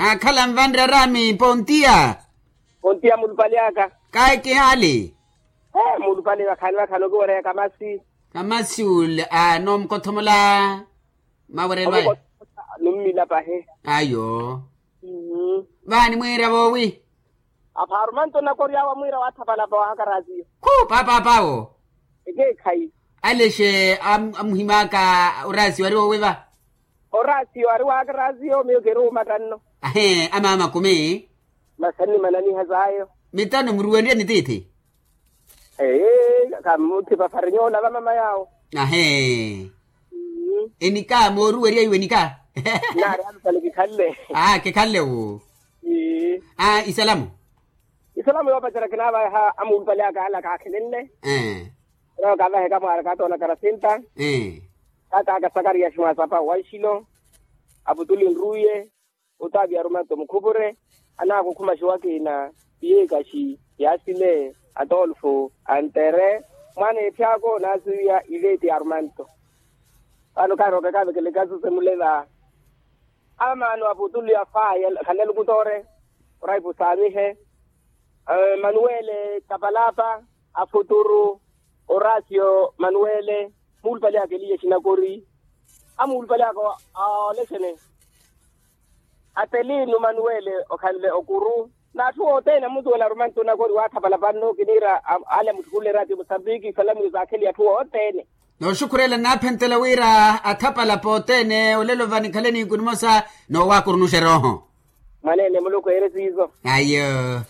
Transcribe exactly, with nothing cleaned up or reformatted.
Aakhala nvanre araami pontiya. Pontiya mulupale aka. Kayi kihaali. Mulupale vakhani vakhani okiwereya kamasi. Kamasi ule a noomukothomola. Mawerelo ayo. Nummila pahi. Ayo. Vaani mwiira voowi. Apha arumanto nakoryawa mwiira waathapalapa wahakarasiyo. Khu paapaapawo. Ekeekhayi. Alexe amuhimaka. Orasiyo ari wowiva. Orasiyo ari wahakarasiyo miyo keri wumattanno. Ahe amaama kumi. Masanni mananiha sayo. Mitano muruwenrye ni tiithi. Ee, kamuthipa farinyola vamama yawo. Ahe. Enika mooruwerya iwe enika. Naari alupale kikhalle. Aa kikhalle wu. Aa isalamu. Isalamu yoopacerya kinaavaha amuulupale aka ala kaakhelenle. Ee. Ira okaavaheka mwaari kaatoona karasinta. Ee. Taata aka sakariya ximwaasapa wanxilo. Aputuli nruye. Otaavi arumanto mukhupure. Anaakukhuma xiwakina. Iyekaxi. Yasile. Atolfo. Antere. Mwaana ethi ako naasiwiya iveti arumanto. Vano kaarooka kaavekeleka susemuleva. Amaano aputuli afaya khanle lukutore. Oraipu saamihe. Manuwele tapalapa. Afuturu. Orasio manuwele. Muulupale aka eliya exinakori. Amuulupale aka. Olexene. Atelino manuwele okhanle okuru. N'atthu othene amutuwela arumanto nakori waathapala panno kiniira. Ale amutthukule eraati musambiki salamini zaakheliya atthu othene. Nooxukhurela naaphentela wira athapala pothene olelo vanikhaleni kunimosa. Noowaakurunuxa erooho. Mwaneene muluku eere siiso. Ayo.